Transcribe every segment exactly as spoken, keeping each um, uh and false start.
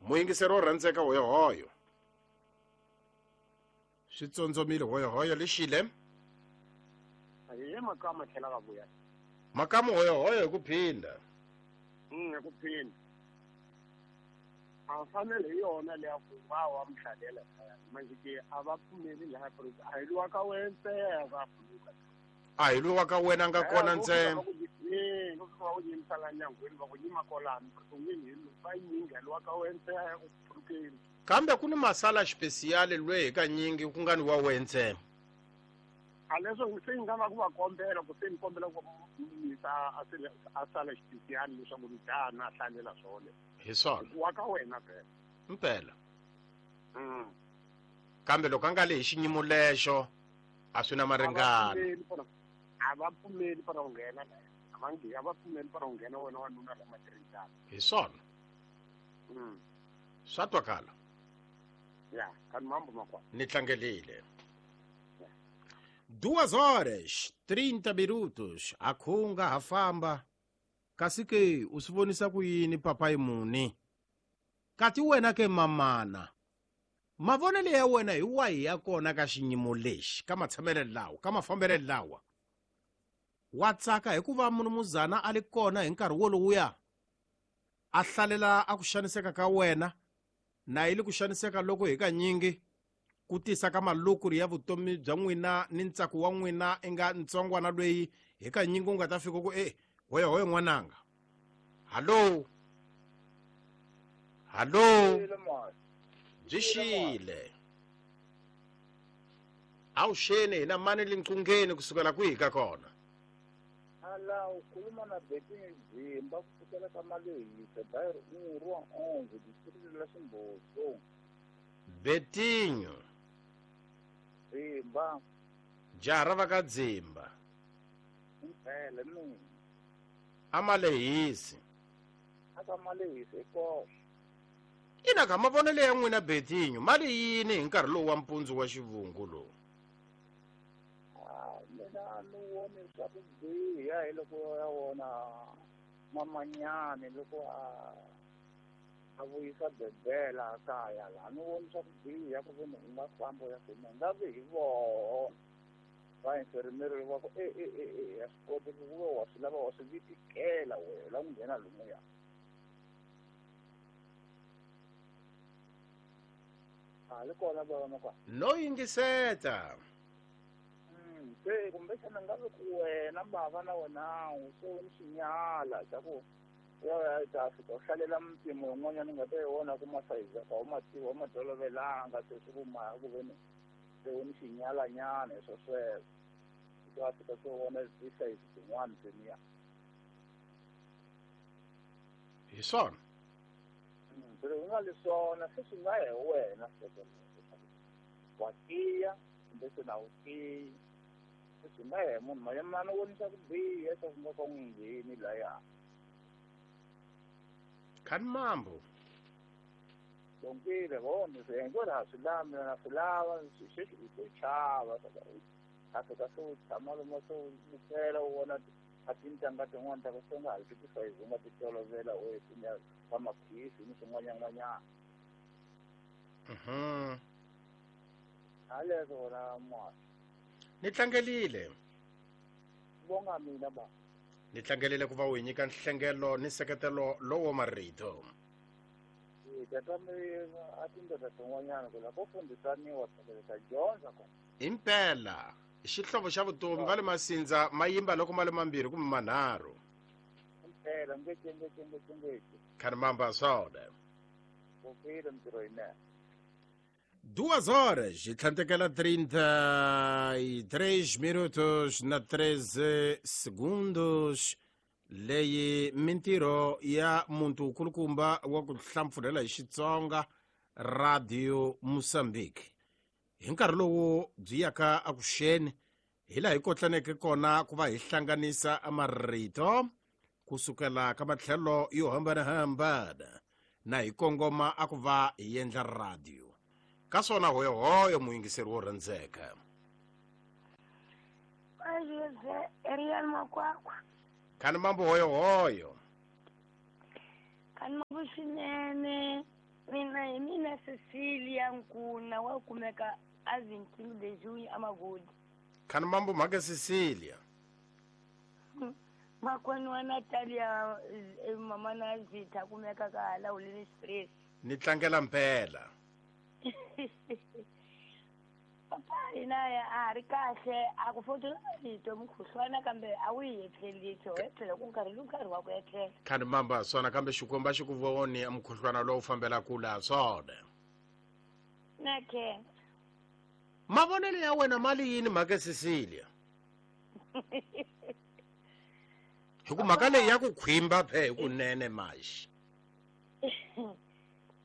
Muyingiseri wo rhandzeka hoyohoyo. Swi tsondzomile hoyohoyo lexile. Hi makama tlhela ka vuya. Makamu hoyohoyo hi ku phinda. Mm hi ku phinda. A fanele hi yona leya ku va wa mhlalela manje ke a va pfumeli laha a hi luwa ka wena ntsena va pfuluka. A hi luwa ka wena nga kona ntsena. Eh ku va u yimisa la nyangweni va ku nyima kolani ku n'wini hi va nyinga luwa ka wena ntsena ku pfulukeni. Kambe ku ni masala xipesiyali lwe hi kanyingi ku nga ni wa wena ntsena. A leswo se nga va ku va kombela ku se ni kombela ku yisa a a sala xipesiyali leswaku ni dana a hlalela swona. Hi swona. Wa ka wena phela. Mpela. Mm. Kambe loko a nga le hi xinyimo lexo a swi na maringano. A va pfumeli para ku nghena la. A va nge a va pfumeli para ku nghena wena wanuna la matirhisana. Hi swona. Mm. Swa twakala. Ya, kan mambo makwa. Ni tlangelile. Duas horas, trinta minutos, a khunga ha famba. Kasi ke u swi vonisa ku yini papayi muni? Kati wena ke mamana. Mavonelo ya wena hi wahi ya kona ka xinyimo lexi, ka matshamelo lawa, ka mafambelo lawa? Wa tsaka hikuva munumuzana a li kona hi nkarhi wolowuya. A hlalela a ku xaniseka ka wena, na yi li ku xaniseka loko hi kanyingi ku tisa ka malukuri ya vutomi bya n'wina ni ntsako wa n'wina i nga ntsongwana lweyi hi kanyingi u nga ta fika ku e hoya hoya n'wananga. Hallo. Hallo. Byi xile. Awuxeni hina mani linqungeni kusukela kwihi ka kona? Ala ukhuluma na Betinho Dzimba kusukela ka Malehisa bairro um rua onze distrito la Ximbozo. Betinho Dzimba. Jaha ra va ka Dzimba. Impela mina. A Malehisi. Aka Malehisa ikoxe. Ina ka mavonelo ya n'wina Betinho mali yini hi nkarhi lowu wa mpundzu wa xivungu lowu? Ah, mina ni voni swa ku biha hi loko ya wona mamanyani loko a a vuyisa bebela kaya la ni voni swa ku biha ku veni u nga famba ya fina nga vi hi voho va infermieri va ku e e e e a swi koteki ku va wa swi lava wa swi vitikela wena la ku nghena lomuya. A li kona bava makwa. No yingiseta. Mm, se kumbexana nga vi ku wena bava na wena se u ni xinyala xa ku ya ya ta fika u hlalela mpimo yin'wanyana u nga ta yi vona ku masayizi ya ka u ma tiva u ma tolovelanga se swi ku ma ku veni se u ni xinyalanyana hi swo sweswo u ta fika se u vona tisayizi tin'wana teniya. Hi swona. Se u nga li swona se swi nga hi wena wa tiya kumbe se na wu tiyi se swi nga hi munhu mayemana u vonisa ku biha swa ku nga ka n'wi ngheni laya. Khani mambo. Donkile vona se hinkwerhu ha swi lava mina na swi lava sweswi i to chava a fika se u tshama lomu se u bukela u vona a tintangha tin'wana ta ku se nga ha ri tisayizi u nga ti tolovela u va maphisi ni swin'wanyan'wanyana. Mhm. Haleswo wona mwana. Ni tlangelile. Vonga mina ba. Ni tlangelile ku va u hi nyika nhlengelo ni nseketelo lowo marito. Eh tata mi a tindlela tin'wanyana ku la ko fundisaniwa ta dyondza kona. Impela xihlovo xa vutomi va le Masindza ma yimba loko ma le mambirhi kumbe manharhu. Impela ngece ngece ngece ngece. Khani mamba swona. Vukile mintirho yinene. Duas horas e tlhantekela trinta e três minutos na treze segundos. Leyi mintirho ya muntu kulukumba wa ku hlampfurhela hi Xitsonga Radio Mozambique. Hi nkarhi lowu byi yaka akuxeni hi laha hi kotlaneke kona ku va hi hlanganisa marito kusukela ka matlhelo yo hambanahambana na hi kongoma a ku va hi endla radio. Ka swona hoyohoyo muyingiseri wo rhandzeka. Ariel Makwakwa. Khani mambo hoyohoyo. Khani mambo swinene. Mina Cecilia Nkuna wa kumeka a vintingu de junho amagodi. Khani mambo mhaka Cecilia. Makwenu wa Natalia mama na Zita kumeka ka hala ulini stress. Ni tlangela mpela. Papa ina ya a ri kahle a ku fotela rito mukhuhlwana kambe a wu yi etleli to etlela ku nkarhi lowu nkarhi wa ku etlela. Khani mamba swona kambe xikwembu a xi ku voni mukhuhlwana lowu fambela kula swona. Na ke. Mavonelo ya wena mali yini mhaka Cecilia? Hi ku mhaka leyi ya ku khwimba phe hi kunene maxi.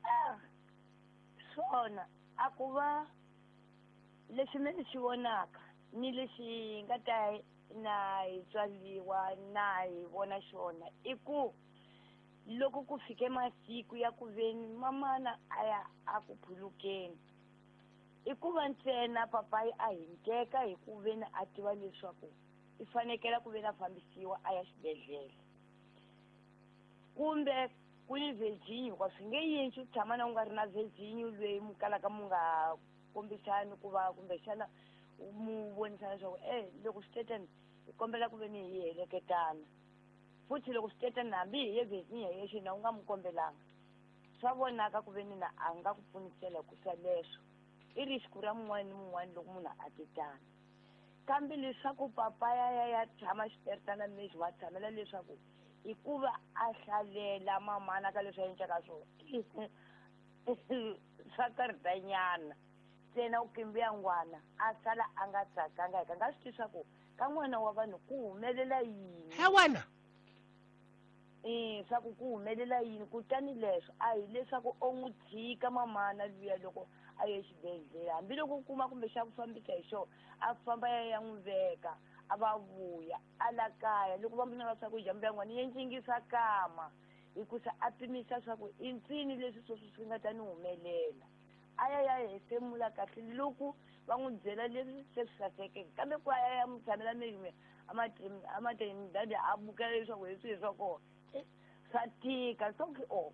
Ah, swona a ku va leswi me swi vonaka ni lexi nga ta na hi tswaliwa na hi vona xona i ku loko ku fike masiku ya ku veni mamana a ya a ku phulukeni i ku va ntsena papayi a hinkeka hi ku veni a tiva leswaku i fanekela ku veni a fambisiwa a ya xibedhlele kumbe ku ni Virginia hikuva swi nge yintshi u tshama na u nga ri na Virginia loyi mu kalaka mu nga kombisani ku va kumbexana mu vonisana leswaku e loko swi tetani hi kombela ku veni hi heleketana futhi loko swi tetani hambi hi ye Virginia yexe na u nga mu kombelanga swa vonaka ku veni na a nga ku pfunisela ku swa leswo i risku ra mun'wana ni mun'wana loko munhu a tetana kambe leswaku papa ya ya ya tshama xiperitana lexi wa tshamela leswaku i ku va a hlalela mamana ka leswi a endlaka swona swa karhatanyana ntsena u kimbiya ngwana a sala a nga tsakanga hi ka nga swi tivi swa ku ka n'wana wa vanhu ku humelela yini he wena e swa ku ku humelela yini kutani leswo a hi leswaku o n'wi tshika mamana luya loko a ye xibedhlele hambiloko u kuma kumbe xa ku fambisa hi xona a famba ya ya n'wi veka a va vuya a la kaya loko va muna va swakudya mbuya n'wana yi encingisa kama hikusa a pimisa swa ku i ntsini leswi sweswi swi nga ta ni humelela a ya ya hefemula kahle loko va n'wi byela leswi se swi sasekeke kambe ku a ya ya n'wi tshamela meyume a matrenidad a bukela leswaku hi swihi swa kona swa tika swa ku o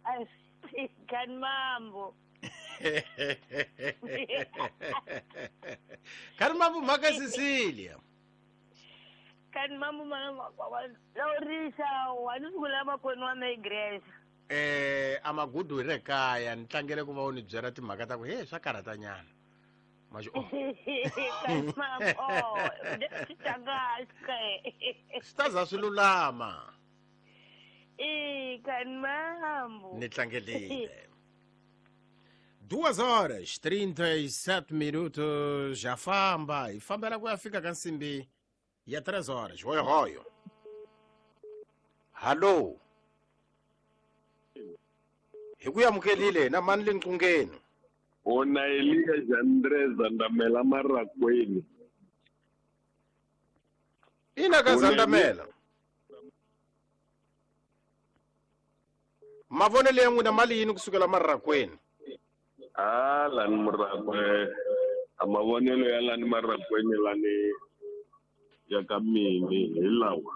a swi tika ni mambo. Khani mambo mhaka Cecilia. Khani mambo laurisa wa ni sungula makwenu wa me igreja. Eh amagudu hi re kaya ni tlangele ku va u ni byela timhaka ta ku he swa karhatanyana. Maxi o. Khani mambo swi tlangahle. Swi ta za swi lulama. E khani mambo. Ni tlangelile. Duas horas, trinta e sete minutos, já famba. E famba ku ya fika ka nsimbi ya três horas. Hoyo hoyo. Hallo. Hi ku amukelile na mani le nqungeni. Ona Elia Jandre Zandamela Marakweni. Ina ka Zandamela. Mavonelo ya n'wina mali yini kusukela Marakweni? Ah, lani Murakwe, a mavonelo ya lani Marakweni lani ya ka mini hi lawa.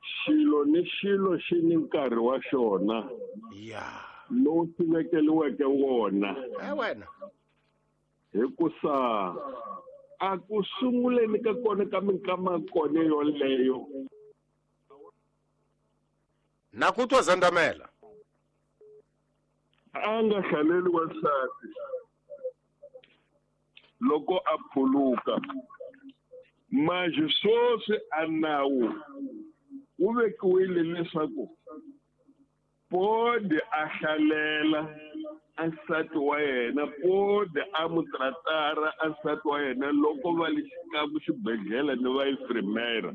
Xilo ni xilo xi ni nkarhi wa xona. Ya. Lowu xi vekeliweke wona. Eh wena. Hikusa a ku sunguleni ka kona ka minkama kona yoleyo. Na ku twa Zandamela. A nga hlaleli wansati loko a phuluka manje sweswi a nawu wu vekiwile leswaku pode a hlalela a nsati wa yena pode a mu tratara a nsati wa yena loko va le xikamu xibedhlele ni va infirmera.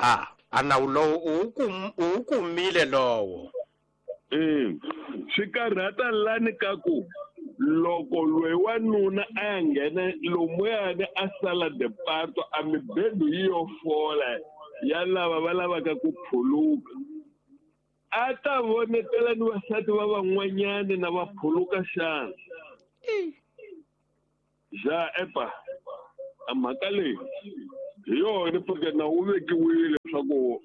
Ah, a nawu lowu u wu kumile lowo. Eh, swi karhata lani ka ku loko loyi wanuna a ya nghena lomuyani a sala departo a mibedo yi yo fola ya lava va lavaka ku phuluka a ta vonetela ni vasati va van'wanyani na va phuluka xana ja epa a mhaka leyi hi yona porque na wu vekiwile leswaku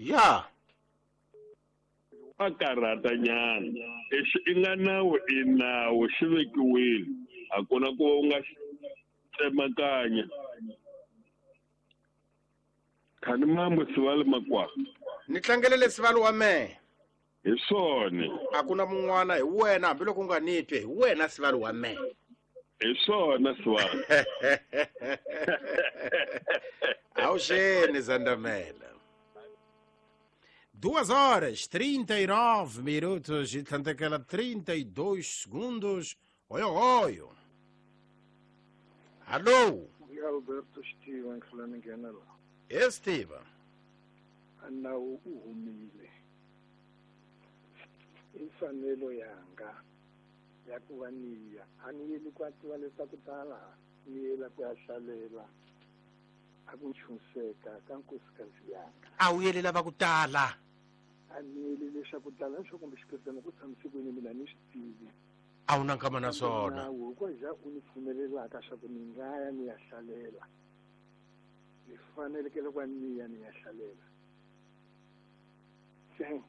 Ya. A karhata nyana. Exi i nga nawu i nawu xi vekiwile. A ku na ku u nga tsemakanya. Khani mambo sivali makwa. Ni tlangelele sivali wa mehe. Hi swona. A ku na mun'wana hi wena hambiloko u nga ni twi hi wena sivali wa mehe. Hi swona sivali. Awuxeni Zandamela. Duas horas, trinta e nove minutos e tlhandlekela trinta e dois segundos. Oyo, oyo. Alô? Alberto Steven Flanagana. Esteban. Nawu u humile. I mfanelo yanga ya ku va niya. A ni yeli ku tiva leswaku tala ni yela ku ya hlalela a ku nchunseka ka nkosikazi yanga. A wu yeli lava ku tala. A ni yeli leswaku tala swo kumbe xiphetana ku tshamise kwini mina ni swi tivi. A wu na nkama na swona. Nawu hikuva u ni pfumelelaka swa ku ni nga ya ni ya hlalela. Ni fanelekele ku va ni ya ni ya hlalela. Se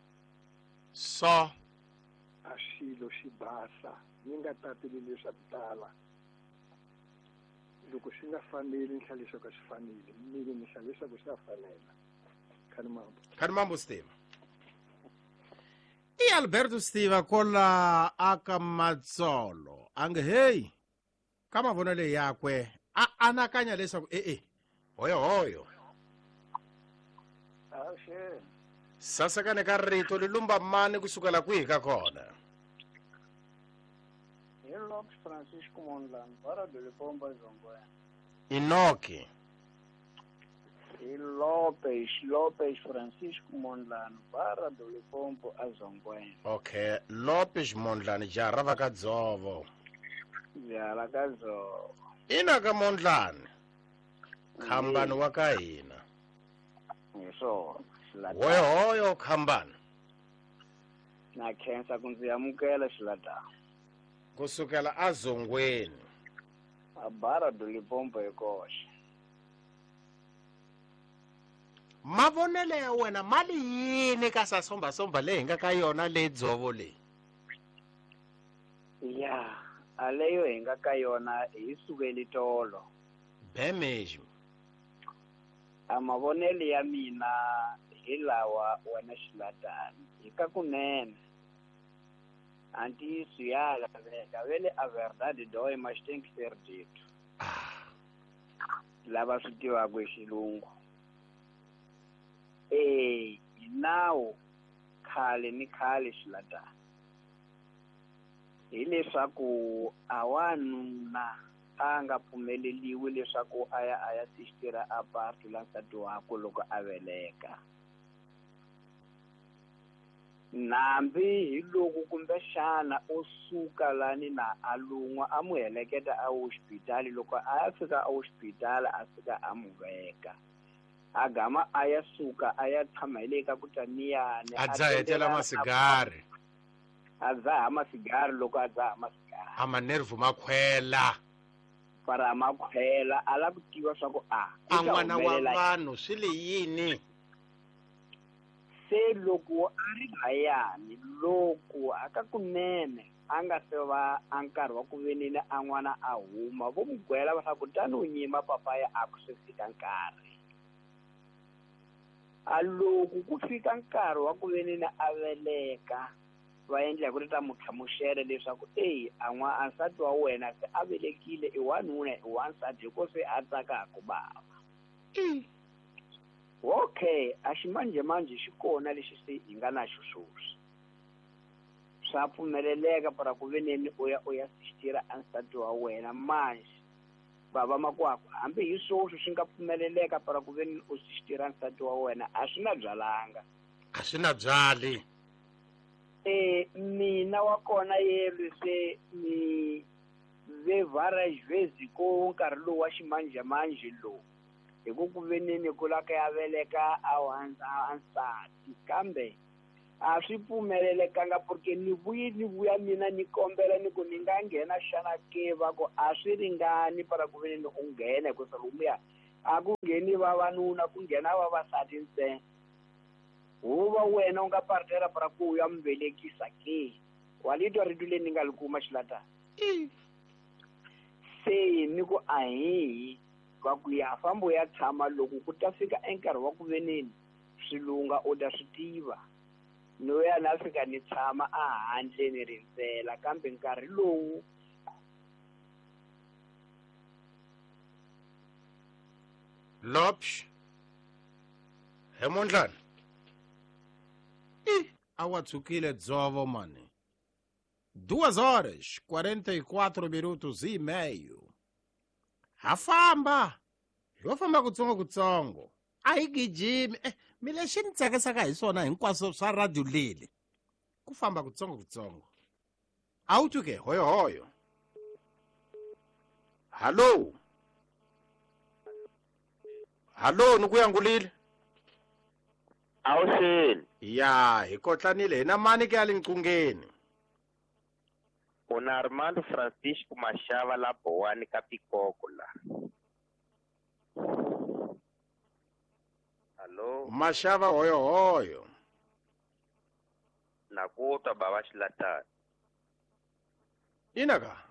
so a xilo xi basa ni nga tateli leswaku tala. Loko xi nga faneli ni hlaya leswaku a xi faneli, mina ni hlaya leswaku xa fanela. Khani mambo. Khani mambo Steve. I Alberto Steve kola aka Matsolo. Ange hey ka mavonelo yakwe a anakanya leswaku e e hoyo hoyo. Awuxeni. Sasekane ka rito li lumba mani kusukela kwihi ka kona? Hi Lopes Francisco Mondlane, Barra do Limpopo, Zongwe. Inoki. Hi Lopes, Lopes Francisco Mondlane, Barra do Limpopo, Zongwe. Okay, Lopes Mondlane, jaha ra ka Dzovo. Jaha ka Dzovo. Ina ka Mondlane. Khambani wa ka hina. Hi swona. Hoyo hoyo khambani. Na khensa ku ndzi amukela xilatana. Kusukela azongweni. A Barra do Limpopo hi koxe. Mavonelo ya wena mali yini ka sasombasomba leyi hi nga ka yona le Dzovo leyi? Ya, a leyo hi nga ka yona hi sukeli tolo. Be mesmo. A mavonelo ya mina hi lawa wena xilatana hi ka kunene. A ntiyiso ya laveka vele a verdade dói mas tem que ser dito. Lava swi tivaka hi xilungu. Eh, hi nawu khale ni khale xilatana. Hi leswaku a wanuna a nga pfumeleliwi leswaku a ya a ya sistira a partu la nsati wakwe loko a veleka. Nambi hi loko kumbexana o suka lani na a lun'wa a n'wi heleketa a hospitali loko a ya fika a hospitali a fika a n'wi veka. A gama a ya suka a ya tshama hi le ka ku taniyani. A dzahetela masigari. A dzaha masigari loko a dzaha masigari. A manervu ma khwela. Para ma khwela a lava ku tiva swa ku a. A n'wana wa vanhu swi le yini? Se loko a ri layani loko a ka kunene a nga se va a nkarhi wa ku veneni a n'wana a huma vo n'wi gwela va swa ku tani u nyima papaya a ku se fika nkarhi. A loko ku fika nkarhi wa ku veneni a veleka va endla hi ku ri ta n'wi hlamusela leswaku eyi a n'wa a nsati wa wena se a velekile i wanuna i wansati hi ko se a tsakaka bava. Okay, a ximanjhemanjhe xi kona lexi se hi nga na xo sweswi. Swa pfumeleleka para ku veneni u ya u ya sistira a nsati wa wena manje bava makwakwa hambi hi sweswi swi nga pfumeleleka para ku veneni u sistira nsati wa wena a swi na byalanga. A swi na byali. Eh mina wa kona yelo se ni ve várias vezes ko nkarhi lowu wa ximanjhemanjhe lowu. Hi ku ku veneni ku la ka ya veleka a a nsati kambe a swi pfumelelekanga porque ni vuyi ni vuya mina ni kombela ni ku ni nga nghena xana ke va ku a swi ringani para ku veneni u nghena hikusa lomuya a ku ngheni vavanuna ku nghena vavasati ntsena. Huva wena u nga partera para ku ya mvelekisa ke. Wa litwa rito leri ni nga li kuma xilata. Se ni ku ahi va ku ya fambo ya tshama loko ku ta fika enkarhi wa ku veneni swilunga u ta swi tiva. No ya na fika ni tshama a handle ni rindzela kambe nkarhi lowu Lopsh he mondlana i a wa tsukile dzovo mani. Duas horas, quarenta e quatro minutos e meio. Ha famba. Yo famba kutsongo kutsongo. A hi gijimi. Eh, mi lexi ni tsakisaka hi swona hinkwaswo swa radio leli. Ku famba kutsongo kutsongo. A wu twi ke hoyo hoyo. Hallo. Hallo, ni ku yangulile. Awuxeni. Ya, hi kotlanile hina mani ke ya le nqungeni. Una Armando Francisco Mashava la Bowani ka Pikoko la. Hallo. Mashava hoyo hoyo. Na ku twa baba Xilatani. Ina ka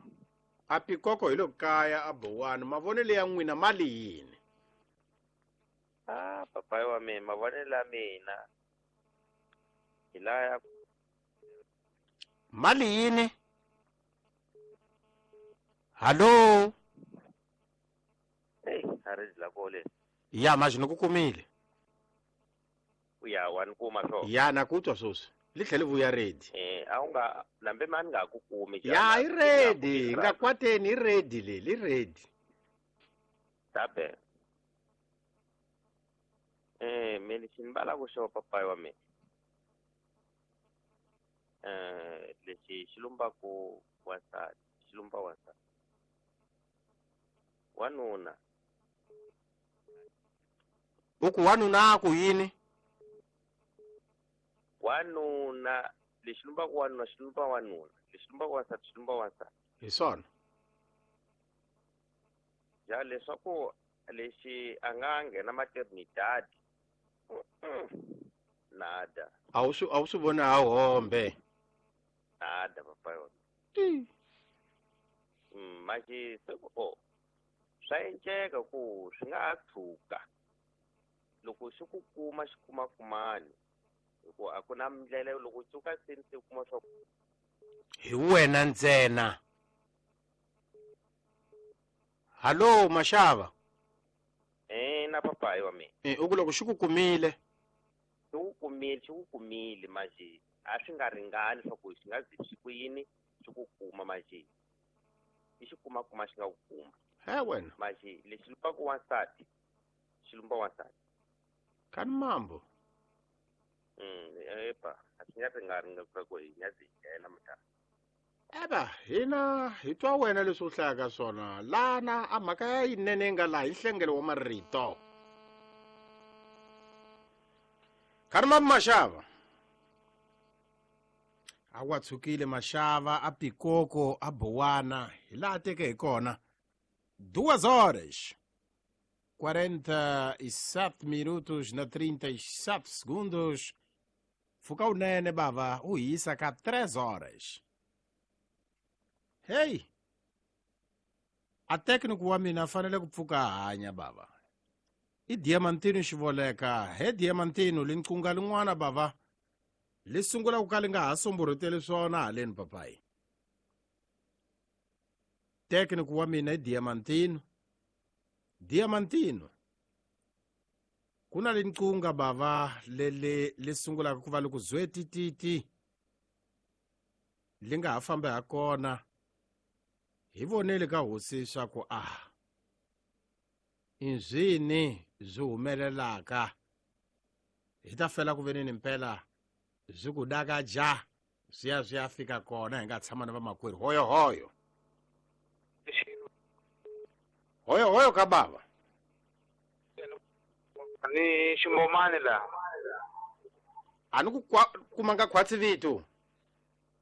a Pikoko hi lo kaya a Bowani mavonelo ya n'wina mali yini? Ah, papai wa mina mavonelo ya mina hi laya mali yini? Hallo. Hey, a ri la kole. Ya manje ni ku kumile. Ya wa ni kuma swo. Ya na ku twa sweswi. Li tlhele vuya ready. Eh, a wu nga nambe mani nga ku kumi. Ya i ready, nga kwateni i ready le, li ready. Tabe. Eh, me lexi ni valaka xo papai wa mina. Eh, lexi xi lumbaku wansati, xi lumba wansati. Wanuna. U ku wanuna ku yini? Wanuna, lexi lumbaku wanuna xi lumba wanuna, lexi lumbaku wansati xi lumba wansati. Hi swona. Ja leswaku lexi a nga nghena maternidad. Nada. A wu swi a wu swi voni ha hombe. Nada papai wa mina. Mm, manje se ku o swa enceka ku swi nga ha tshuka loko xi ku kuma xi kuma kumani hikuva a ku na ndlela loko tshuka se ni se kuma swa hi wena ntsena. Hallo Mashava. Eh, na papai wa mina. Eh, u ku loko xi ku kumile. Xi ku kumile, xi ku kumile manje a swi nga ringani swa ku xi nga zi xi ku yini xi ku kuma manje. I xi kuma kuma xi nga ku kuma. He wena. Manje lexi lumbaku wansati xi lumba wansati. Kani mambo. Mm, epa, a swi nga ringani ku hi nga zi nghena mutana. Eba, hina hi twa wena leswi u hlayaka swona lana a mhaka ya yinene nga laha hi nhlengelo wa marito. Kani mambo Mashava. A wa tshukile Mashava a Pikoko a Bowana hi laha teke hi kona. Duas horas quarenta e sete minutos na trinta e sete segundos. Fuka unene bava u yisa ka três horas. Hey, a técnico wa mina fanele ku pfuka hanya bava. I Diamantino Xivoleka, he Diamantino linqunga lin'wana bava. Li sungula ku ka li nga ha somborhoteli swona haleni papai. Técnico wa mina i Diamantino. Diamantino. Ku na linqunga bava lele li sungulaka ku va li ku zwetititi. Li nga ha fambi ha kona. Hi vonele ka hosi swa ku a inzwini byi humelelaka hi ta fela ku veneni mpela byi ku daka ja swi ya swi ya fika kona hi nga tshama na vamakwerhu hoyo hoyo hoyo hoyo ka bava ni ximbomani la a ni ku kumanga khwatsi vito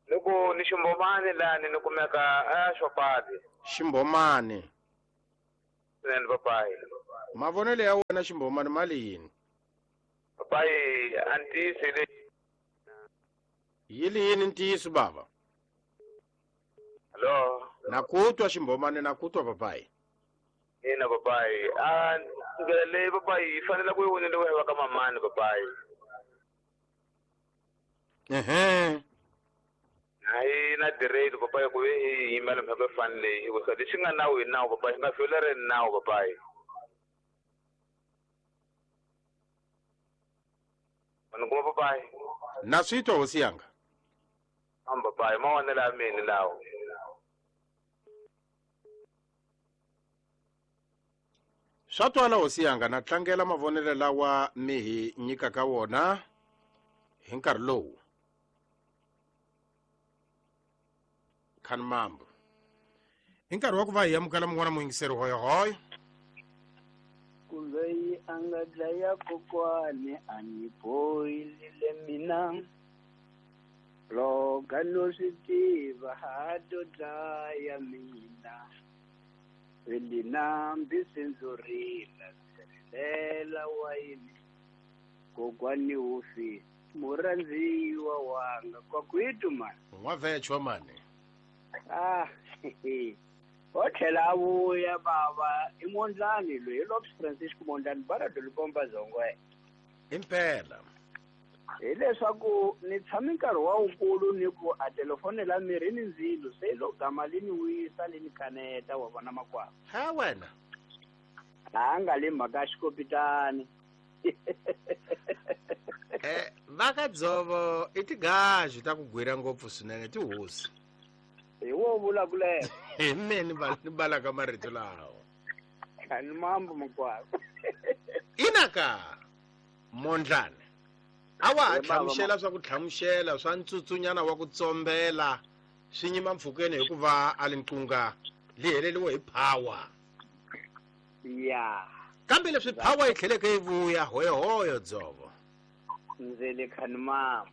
loko ni ximbomani lani ni kumeka a xopati ximbomani swinene papayi mavonelo ya wena ximbomani mali yini Papai a ntiyiso leyi yi li yini ntiyiso bava? Hello. Na ku twa ximbomani, na ku twa papai. Ina papai, a ndlela leyi papai yi fanele ku yi voneliwa hi va ka mamani papai. Ehe. Hayi na direct papai ku ve hi yimela mhaka yo fana leyi hikusa lexi nga nawu hi nawu papai, xi nga violeri nawu papai. Ni kuma papai. Na swi twa hosi yanga. Am papai, mavonelo ya mina lawo. Swa twala hosi yanga, na tlangela mavonelo lawa mi hi nyikaka wona hi nkarhi lowu. Khanimambo. Hi nkarhi wa ku va hi amukela mun'wana muyingiseri hoyohoyo. Ku loyi a nga dlaya kokwani a ni bohile mina, loga no swi tiva ha to dlaya mina. Veli nambi sindzi rila, ndzi rilela wayini, kokwani wu fi murhandziwa wanga kwakwitu mani. N'wavhechwa mani. Ah, o tlhela a vuya bava i Mondlani loyi, hi Lopes Francisco Mondlani bara Dolikomba Zongwe. Impela. Hileswaku ni tshame nkarhi wa wukulu ni ku a telefoni la mirhi ni ndzilo se lo gama li ni wisa li ni kaneta wa vona makwavo. Ha wena. A nga le mhaka ya xikopitani. Eh, va ka dzovo i tigaju ta ku gwira ngopfu swinene tihosi. Hi wo vulavulela. Hi mina ni bal-, ni balaka marito lawa. Ni mambo makwavo. Inaka Mondlani. A wa ha Ye bava hlamusela swa ku hlamusela swa ntsutsunyana wa ku tsombela swi nyima mpfhukeni hikuva a li nqunga li heleriwe hi power. Ya. Kambe leswi power yi tlheleke yi vuya hoyohoyo dzovo. Ndzi le Khanimambo.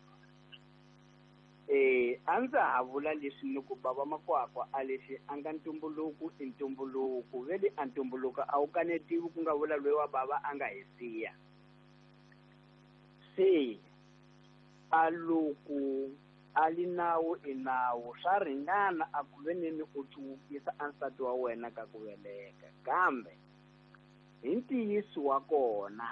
Eh, a ndza ha vula leswi ni ku bava makwakwa a leswi a nga ntumbuluko i ntumbuluko, ve le a ntumbuluko a wu kanetiwi ku nga vula loyi wa bava a nga hi siya. Se a loko a li nawu i nawu, swa ringana a ku ve ni u cuwukisa a nsati wa wena ka ku veleka, kambe hi ntiyiso wa kona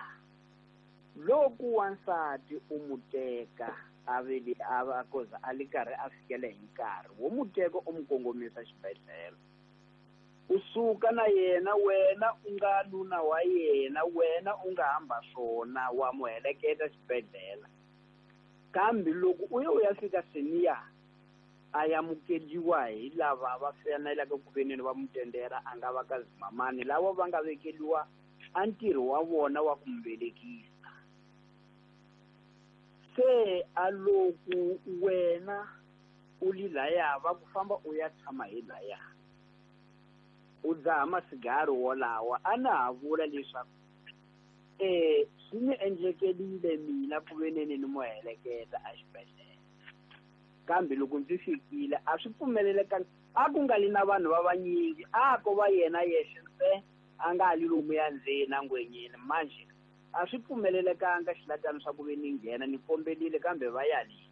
loko wansati u mu teka a vele a va koza a li karhi a fikela hi nkarhi wo mu teka u mu kongomisa xibedhlele, u suka na yena, wena u nga nuna wa yena, wena u nga hamba swona wa mu heleketa xibedhlele. Kambe loko u ya u ya fika seniya a amukeriwa hi lava va faneleke ku ve ni va mu tendera, a nga va ka zimamani lava va nga vekeriwa a ntirho wa vona wa ku mu velekisa. Se a loko wena u li laya va ku famba u ya tshama hi laya u dzaha masigari wolawa, a na ha vula leswaku eh swi ni endlekelile mina ku ve ni ni mu heleketa exibedhlele, kambe loko ndzi fikile a swi pfumelelekanga, a ku nga li na vanhu va vanyingi, a ko va yena yexe ntsena a nga li lomuya ndzeni a ngwenyeni. Manjhe a swi pfumelelekanga xilatani swa ku ve ni nghena, ni kombelile kambe va yalile.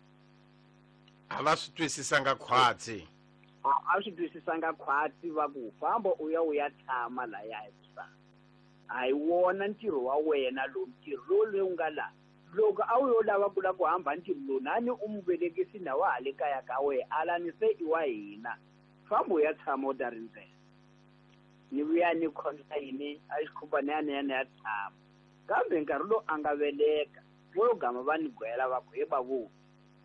A va swi twisisanga khwatsi. A a swi twisisanga khwatsi, va ku famba u ya u ya tshama laya hikusa a hi wona ntirho wa wena lowu, ntirho lowu lowu nga la. Loko a wu yo lava ku lava ku hamba ntirho lowu, nani u mu velekisi na wa ha le kaya ka wena, alani se i wa hina, famba u ya tshama u ta rindzela. Ni vuya ni khonsa yini a xikhumbani ya ni ya ni ya tshama, kambe nkarhi lowu a nga veleka vo gama va ni gwela va ku he bavu,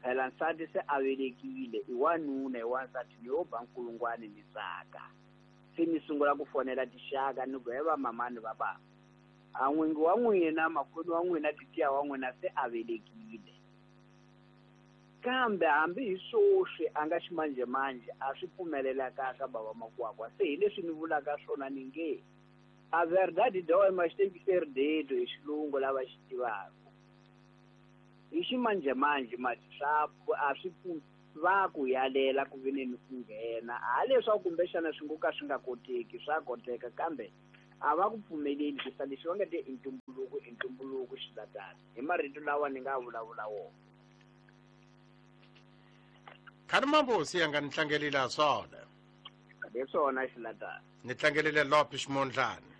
phela nsati se a velekile, i wanuna i wansati ni yo ba nkulungwani ni tsaka. Se ni sungula ku fonela tixaka ni ku he va mamani va bava, a n'wingi wa n'wina makwenu wa n'wina titiya wa n'wina se a velekile. Kambe hambi hi swoswi a nga ximanjhemanjhe a swi pfumelelekaka bava makwakwa. Se hi leswi ni vulaka swona ni nge a verdade dói mas tem que ser dito hi xilungu lava xi tivaka. Hi ximanjhemanjhe mati swa a swi pfu-, va ku yalela ku ve ni ku nghena, ha leswaku kumbexana swi ngo ka swi nga koteki, swa koteka, kambe A va ku pfumeleli ku sa lexi va nga te i ntumbuluko i ntumbuluko xilatana hi marito lawa ni nga vulavula wona. Khani mambosi ya nga ni tlangelile swona. Leswona xilatana. Ni tlangelile Lopes Mondlane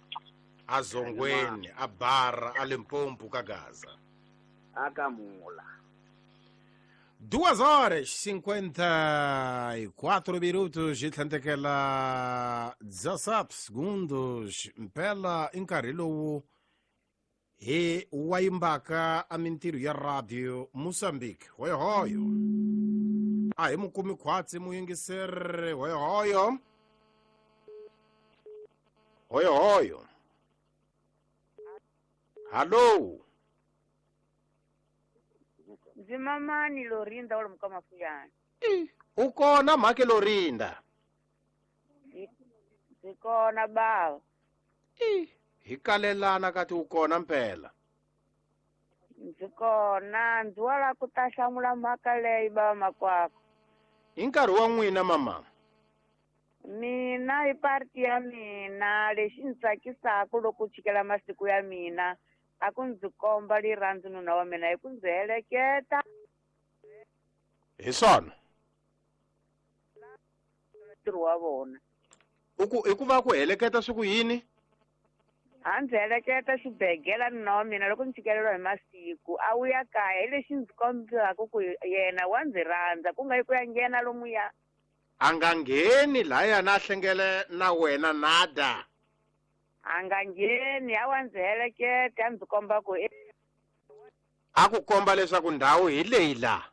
a Zongweni a Bara a Limpopo ka Gaza. Akamula. Duas horas cinquenta e quatro minutos e tlhandlekela dezessete segundos mpela i nkarhi lowu hi wayimbaka a mintirho ya radio Moçambique. Hoyohoyo a hi mukumi khwatsi muyingiseri. Hoyohoyo hoyohoyo hallo. Ndzi mamani Lorinda wa lomu ka Mafuyana. U kona mhake Lorinda? Ndzi kona bava. Hi kalelana kati u kona mpela? Ndzi kona, ndzi wa lava ku ta hlamula mhaka leyi bava makwako. Hi nkarhi wa n'wina mama? Mina hi parti ya mina lexi ndzi tsakisaka loko chikela masiku ya mina a ku ndzi komba rirhandzu nuna wa mina hi ku ndzi heleketa. Hi swona ntirho wa vona. U ku i ku va ku heleketa swi ku yini? A ndzi heleketa xibegela nuna wa mina loko ndzi tshikeleriwa hi masiku a wu ya kaya hi lexi ndzi kombelaka ku yena wa ndzi rhandza ku nga yi ku ya nghena lomuya. A nga ngheni laya na hlengele na wena nada. A nga ngheni a wa ndzi heleketa a ndzi komba ku a ku komba leswaku ndhawu hi leyi la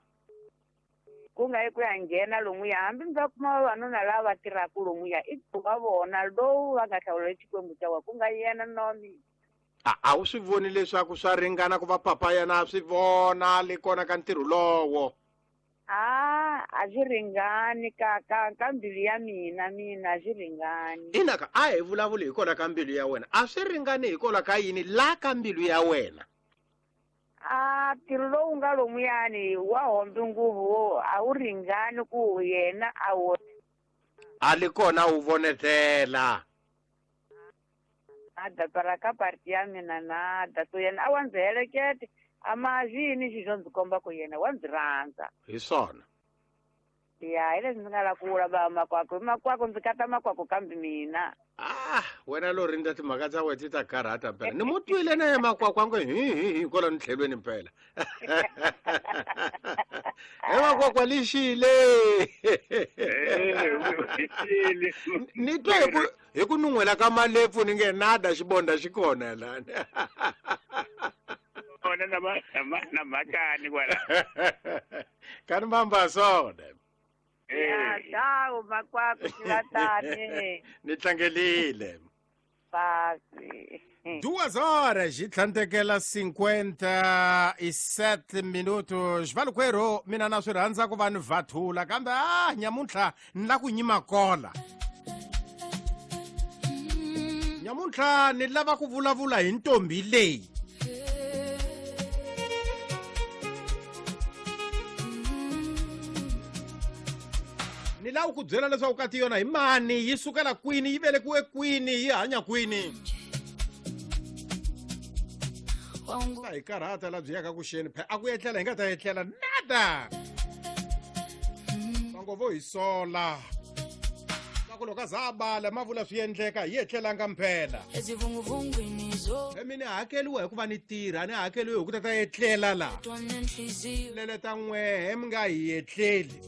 ku nga yi ku ya nghena lomuya hambi ndzi va kuma vavanuna lava va tirhaka lomuya i wa vona lowu va nga hlawula Xikwembu xa wa ku nga yena nuna wa mina. A a wu swi voni leswaku swa ringana ku va papa yena a swi vona le kona ka ntirho lowo? A a swi ringani ka ka ka mbilu ya mina mina a swi ringani. Inaka a hi vulavuli hi kona ka mbilu ya wena a swi ringani hi kona ka yini la ka mbilu ya wena? A ntirho lowu nga lomuyani wa hombi nguvu a wu ringani ku yena a wu a li kona wu vonetela. Nada para ka parti ya mina nada so yena a wa ndzi helekete a ma yini xi xo ndzi komba ku yena wa ndzi rhandza. Hi swona. Ya hi leswi ndzi nga lava ku vula va makwako makwako ndzi kata makwako kambe mina. Ah wena Lorinda timhaka ta wena ti ta karhata mpela ni mu twile na ye makwako a ngo hi hi hi kwalano tlhelweni mpela. E makwakwa lixile ni twe hi ku hi ku nun'hwela ka malepfu ni nge nada xibonda xi kona lani. Kona na na mhakani kwala. Kani mamba swona. Ya dawu makwako xilatani. Ni tlangelile. Pasi. Duas horas e tlhandlekela cinquenta e sete minutos. Valukwerhu mina na swi rhandza ku va ni vathula kambe a nyamuntlha ni la ku nyima kola. Nyamuntlha ni lava ku vulavula hi ntombi leyi. Ni lava ku byela leswaku kati yona hi mani yi sukela kwini yi velekiwe kwini yi hanya kwini. Ta hi karhata la byi yaka ku xeni phe a ku etlela hi nga ta etlela nada. Vango vo hi sola va ku loko a za a bala ma vula swi endleka hi etlelanga mpela. He mina hakeliwa hikuva ni tirha ni hakeliwe hi ku ta ta etlela la leleta n'wehe mi nga hi etleli.